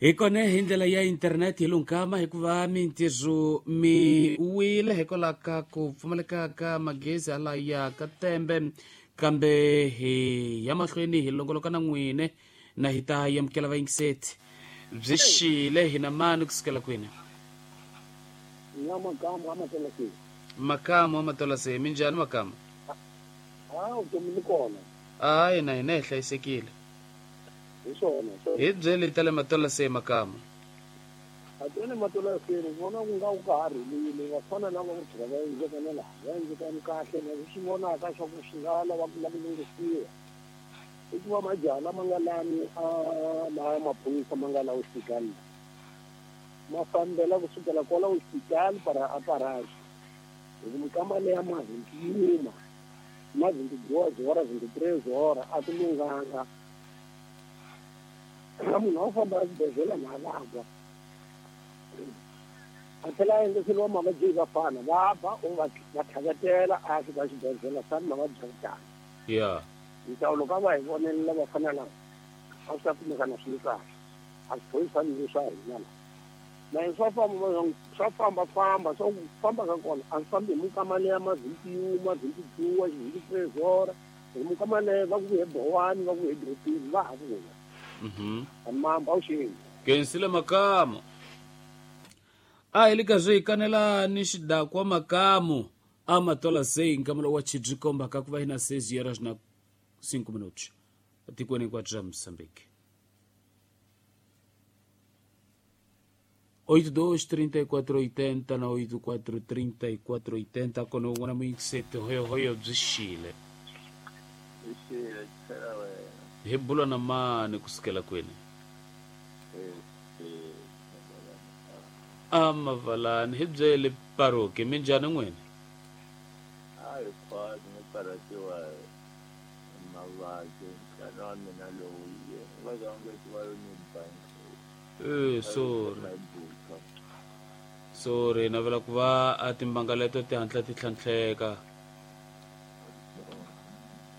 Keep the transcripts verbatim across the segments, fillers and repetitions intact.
Hi kona hi ndlela ya internet hi lunkama hikuva mintirho mi wile hikwalaho ka ku pfumaleka ka magezi hala ya ka tembe, kambe hi ya mahlweni hi longoloka na n'wine na hi ta amukela vayingiseti. Byi xile hi na mani kusukela kwini? Na Makamu a Matola se. Makamu a Matola se, minjhani Makamu? A vutomi ni kona. Hayi, na hina hi hlayisekile. Hi swona. Hi byeli ta le Matola se, Makamu. A tele Matola se, ni vona ku nga ku ka ha rhulile, vafana lava ku tlhela va endleka na laha va endlekani kahle, na swi vonaka swa ku swi nga lava ku lava lunghisiwa. I ku va majaha lama nga lani a laha maphorisa ma nga la hospital, ma fambela kusukela kwala hospital para a paraji. Hi ku mikama leya ma vinte e uma, ma vinte e duas horas, vinte e três horas, a ti lunghanga. Na munhu a famba exibedhlele na vabya, a tlhela a endleseriwa mavabyi hi vafana va ba o va va tlhavetela a ya fika xibedhlele sani mavabyi ya ku tala. Ya. Nhlawulo ka va hi vonelela vafana lava a swi ta kumeka na swi li kahle. A swiphorisani leswi swa hina la na hi swa famba swa fambafamba, swa ku famba ka kona a swi fambi hi mikama leya ma vinte e uma, vinte e duas, vinte e três horas. Hi mikama leyo va ku vuye bowani, va ku vuye dorobeni, va ha vuya. Mhm. Mamba awuxeni. Kensile Makamu. A hi le ka swi kanela ni xidakwa Makamu a Matola sei, nkamelo wa chibyi kombaka ku va hi na seis horas na cinco minutos etikweni hinkwabyo ra Mozambique. oito dois trinta e quatro oitenta na oito quatro trinta e quatro oitenta, kona un'wana muyingiseti. Hoyohoyo, byi xile. Xile, tlhela wena. Hi bula na mani kusukela kwini? Eh, eh, A Mavalani, hi byele paroki, minjhani n'wina? A hi khwati ni karhatiwa hi mavabyi, nhlana wa mina lowu ye va vangeti va ni bangi. Eh, sorry, sorry, navela ku va a timbanga leto ti hatla ti tlhantlheka.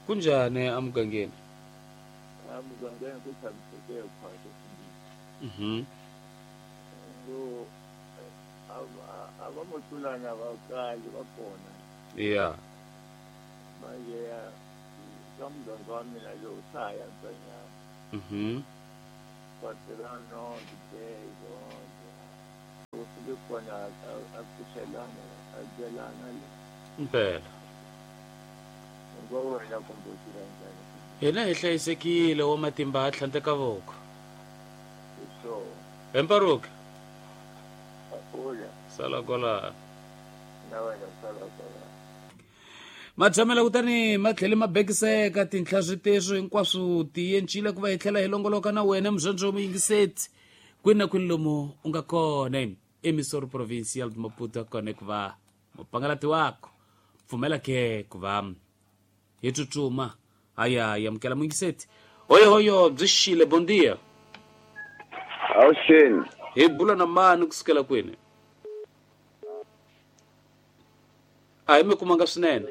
Kunjhani emugangeni? A mugangeni ku tshamiseke khwati. Mhm. So a a va mo tlulana va kali va kona. Ya. Manje ya ka muganga wa mina lowu swa ha yantswanyana. Mhm. Paterano ditezo ku fike kona a pfuxelana a byelana le. Mpela. Ngo wena kumbe u tirha njhani? Hina hi hlayisekile, wa matimba a tlhandleka voko. Hi swona. Hi mparuki. Ula. Sala kwalano. Na wena sala kwalano. Matshamela kutani ma tlhele ma bekiseka tinhla switeswo hinkwaswo ti encile ku va hi tlhela hi longoloka na wena muzondzo muyingiseti kwini na kwini lomu u nga kona, emissora provincial de Maputo kona ku va mupangalati wako pfumela ke ku va hi tsutsuma haya hi amukela muyingiseti. Hoyohoyo, byi xile, bon dia. Awuxeni. Hi bula na mani kusukela kwini? A hi mi kumanga swinene.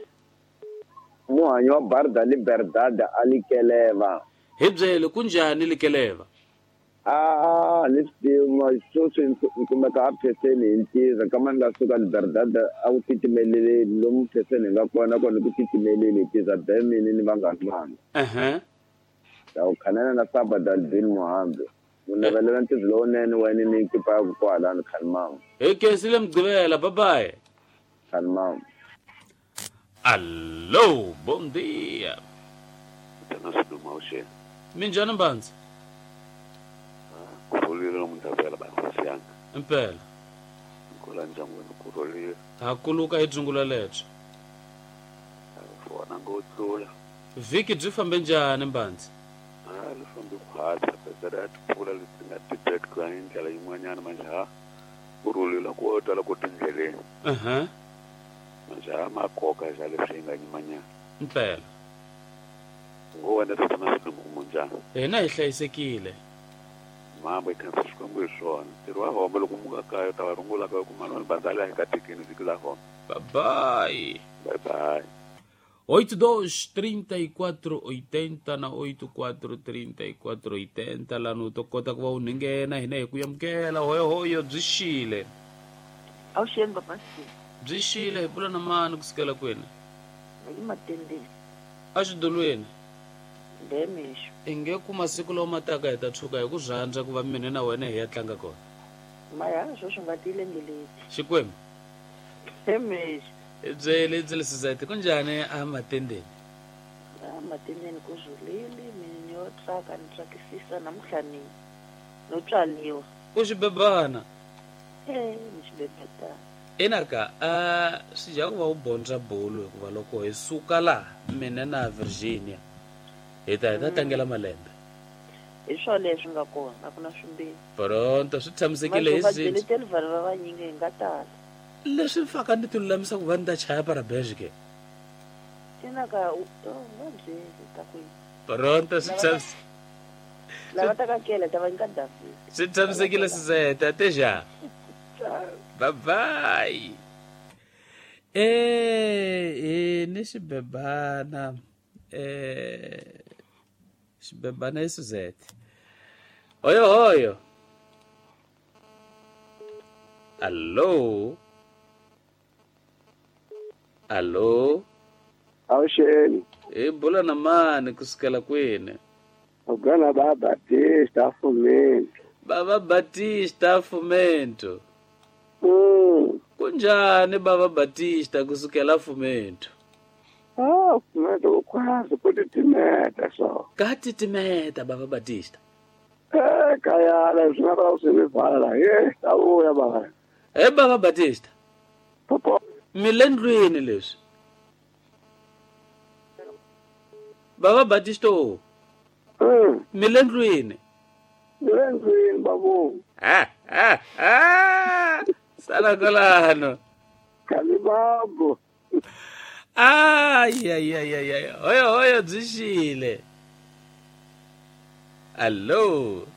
Muhanyi wa Barda Liberdade a Likeleva. Hi byele, kunjhani Likeleva? A ni swi tivi, sweswi ni kumeka a pheseni hi ntiza kama ni nga suka Liberdade a ku titimeleleni lomu pheseni hi nga kona kona ku titimeleli hi tiza bemini ni vanghani vanga. Ehe. Ta ku khanela na Sabada Albin Muhambi. Mu navelela ntirho lowunene wena ni kipa ya ku kwalano khalimama. Hi kensile Mugqivela, bye bye. Khalimama. Alô, bom dia. Tana Siluma awuxeni. Minjhani Mbandzi? Kurhulile namuntlha vela vankosi yanga. Impela. Kwala ndyangwini kurhulile. Ha kuluka hi dzungula lebyo. Vona ngo tlula. Vhiki byi fambe njhani Mbandzi? A li fambi khwatsi, pedzera ya timpfula leti nga tibeka hi ndlela yin'wanyana manje ha kurhulile ko tala ku tindleleni. Uh-huh. Manje ha makoka xa leswi hi nga nyimanyana. Impela. Ngo wena tatana Siluma kumunjhani? Hina hi hlayisekile. Mambo hi khensa Xikwembu hi swona. Ntirho wa home loko muka kaya u ta va rungula ka ku manwani bandzali a hi katekeni vhiki la home. Bye bye. Bye bye. oito dois trinta e quatro oitenta na oito quatro trinta e quatro oitenta lani u to kota ku va u nghena hina hi ku amukela hoyohoyo byi xile. Awuxeni papa. Byi xile hi pula na mani kusukela kwini? Hi matendeni. Axidolweni. Ndemixo. I nge ku masiku lawa ma taka hi ta tshuka hi ku rhandza ku va mina na wena hi ya tlanga kona. Maya sweswi nga tilengeleti. Xikwembu. Ndemixo. Hi byele hi byele Suzette kunjhani a matendeni? A matendeni ku rhulile mina yo tsaka ni tsakisisa namuntlha ni no tswaliwa. U xibebana? Eh, ni xibebetana. Inaka a swi dya ku va u bondza bolo hikuva loko hi suka laha mina na Virginia hi ta hi ta tlangela malembe. Hi swo leswi nga kona a ku na swimbirhi. Pronto swi tshamisekile hi swin'we. Byeleteli vanhu va vanyingi hi nga tala. Leswi faka ni ti lulamisa ku va ni ta chaya parabenge ke. Inaka u nga byeli ta ku. Pronto swi tshamisekile. Lava ta ka kela ta va nyika David. Swi tshamisekile Suzette até já. Bye bye. Eh eh ni xibebana eh xibebana i Suzette. Hoyo hoyo. Allo. Allo. Awuxeni. Hi bula na mani kusukela kwini? Ugana ba Batista Fumento. Baba Batista Fumento. Mm. Kunjani Baba Batista kusukela Fumento? Ah, Fumento ukwazi kutitimeta so. Katitimeta Baba Batista. Eh, kaya la swi nga va swi mi vala. Eh, ta vuya baba. Eh Baba Batista. Popo. Mi le ndlwini leswi. Baba Batista. Mm. Mi le ndlwini. Mi le ndlwini babu. Ah ah ah. Sala kolano. Kalibabu. Ay ay ay ay ay. Hoyo hoyo byi xile. Allo.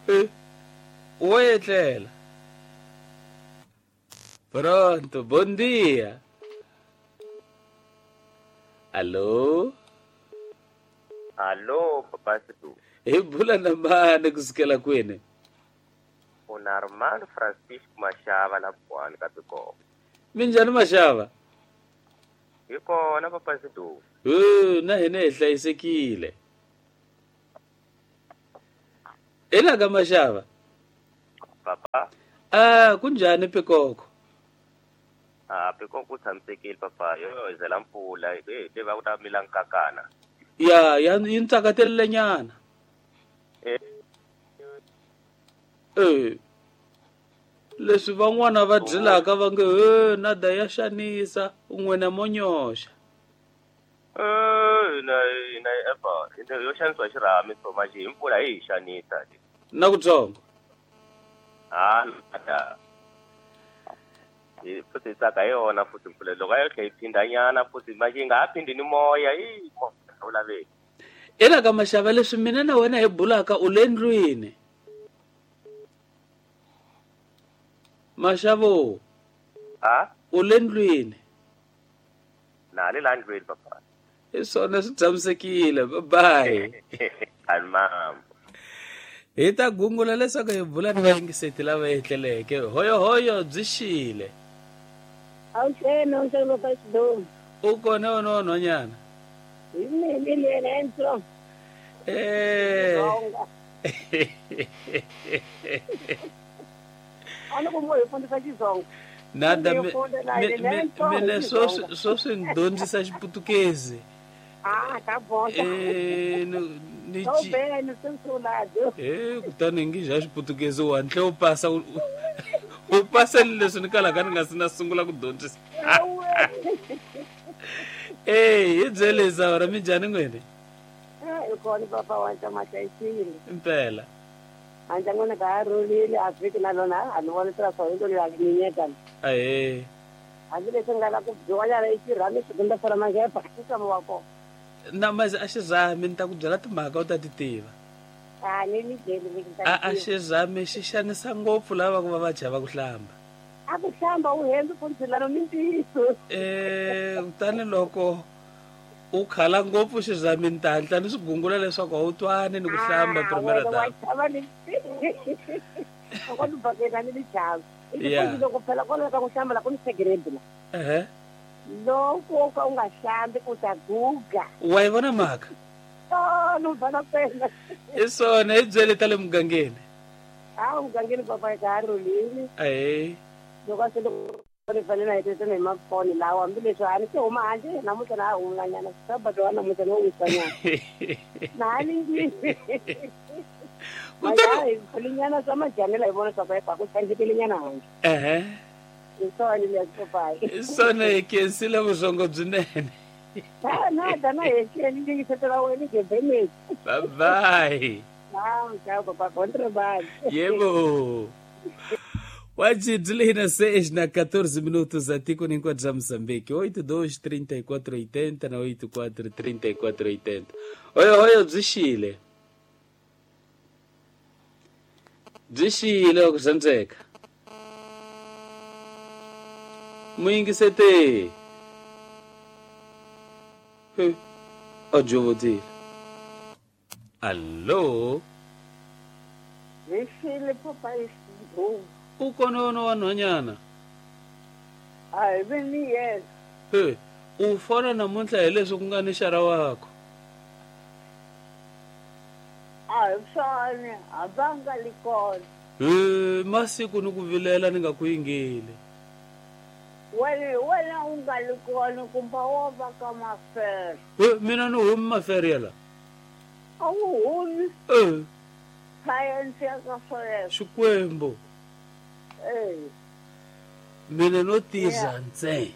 Eh. Wo etlela. Pronto, bom dia. Allo. Allo, papa Sidu. Hi bula na mani kusukela kwini? Una Armando Francisco Mashava la Bwani ka Pikoko. Minjhani Mashava? Hi kona papa Sidu. Eh, na hina hi hlayisekile. Ina ka Mashava? Papa. Ah, kunjhani Pikoko? Ah, Pikoko ku tshamisekile papa. Yo yo zela mpfula, eh, le va ku ta mila nkakana. Ya, ya yi ntsakatelele nyana. Eh. Eh. Leswi van'wana va byelaka va nge he nada ya xanisa un'wena mo nyoxa. Eh, na na epa, yo xanisiwa xirhami so manje hi mpfula yi hi xanisa. Na kutsongo. Ah, nada. Hi futhi tsaka hi yona futhi mpfula loko a yo tlhela yi phindanyana futhi manje yi nga ha phindi ni moya yi moya wu laveki. Ina ka Mashava leswi mina na wena hi bulaka u le ndlwini. Mashavo. Ah? U le ndlwini. Na le la ndlwini papa. Hi swona swi tshamisekile. Bye bye. Almam. Hi ta gungula leswaku hi bula ni vayingiseti lava etleleke. Hoyo hoyo byi xile. Awuxeni awuxeni papa Sidu. U kona wena wa nhwanyana? Hi mina Lenzo. Eh. A ni ku mo hi fundisa Xitsonga. Nada mina swo swo swi ni dyondzisa Xiputukezi. Ah, tá bom. Eh, ni Tô bem, no seu lado. Eh, kutani ngi ja Xiputukezi u hantle u pasa u pasa leswi ni kalaka ni nga si na sungula ku dyondzisa. Eh, hi byele Zaura minjhani n'wini? Eh, hi kona papa wa ntamahlayisekile. Impela. Handle n'wina ka ha rhulile a vhiki na lona a ni voni swa swona lo ya minyeka. Ahee. Hambileswi ni nga la ku dyiwanyana i xirhami xigunda fora mangepa i nxavo wa kona. Na mazi a xirhami ni ta ku byela timhaka u ta ti tiva. A ni mi byeli mi A a xirhami xi xanisa ngopfu lava ku va va chava ku hlamba. A ku hlamba u hembi mfundhisi ni ntiyiso. Eh tani loko u khala ngopfu xizami ntantla ni swi gungula leswaku a wu twani ni ku hlamba primera dama. Loko ni bakela ni lichava. I loko phela kwala ka ku hlamba la ku ni segrade la. Eh. Loko ka u nga hlambi u ta guga. Wa yi vona mhaka? Oh, no vona phela. I swona i byele ta le mugangeni. Ah, mugangeni papa ka rhulile. Eh. Loko a se loko ni fanele na hetisa ni mafoni lawa hambileswi a ni se huma handle namuntlha na humanyana sabato wa namuntlha no wisanyana. Na ni ndlwini. Kutani linyana swa majanela hi vona swa ku ku tsandzekile nyana handle. Eh. Isona leyi papai. Isona hi khensile vusongo byinene. Na na dana hi xeni ndzi yingisetela wena gebeni. Bye bye. Ciao, ciao papá, bom trabalho. Yebo. Wajidlina seis na quatorze minutos aqui com enquanto já Moçambique. oito dois trinta e quatro oitenta na oito quatro trinta e quatro oitenta. Oi, oi, byi xile. Byi xile ku sandzeka. Muyingisete. He. Ajovodile. Allo. Byi xile papa isindhu. U kona wa nhwanyana? A hi ve ni yena. He, u fona namuntlha hi leswi ku nga ni xara wakho. A hi swona, a va nga li kona. He, masiku ni ku vilela ni nga ku yingeli. Wena wena u nga li kona kumbe wo va ka mafere. He, mina ni humi mafere yala. A wu humi. Eh. Sayense ya ka swoleswo. Xikwembu. Eh. Mina no tirha ntsena.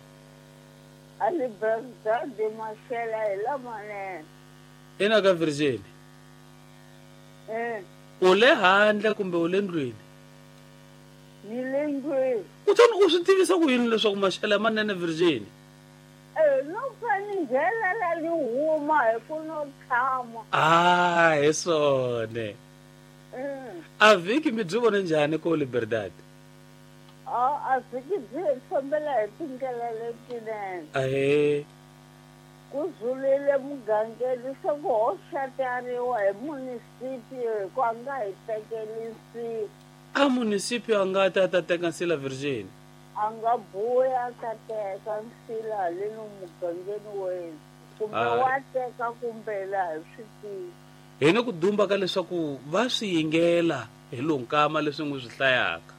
A ni brother maxela hi lamanene. Ina ka Virgin. Eh. U le handle kumbe u le ndlwini? Ni le ndlwini. Kutani u swi tivisa ku yini leswaku maxela manene Virgin? Eh, no fani ndlela la ni huma hi ku no tshama. Ah, hi swona. Eh. A vhiki mi byi vone njhani ko Liberdade? A a vhiki byi fambela hi tindlela letinene. Ahee. Ku zulile mugangeni se ku ho xatariwa hi munisipio hi ku a nga hi tekeli nsila. A munisipio a nga ta ta teka nsila Virgin? A nga buya a ta teka nsila haleni mugangeni wena. Kumbe wa teka kumbe laha hi swi tivi. Hi ni ku dumba ka leswaku va swi yingela hi lonkama leswi n'wi swi hlayaka.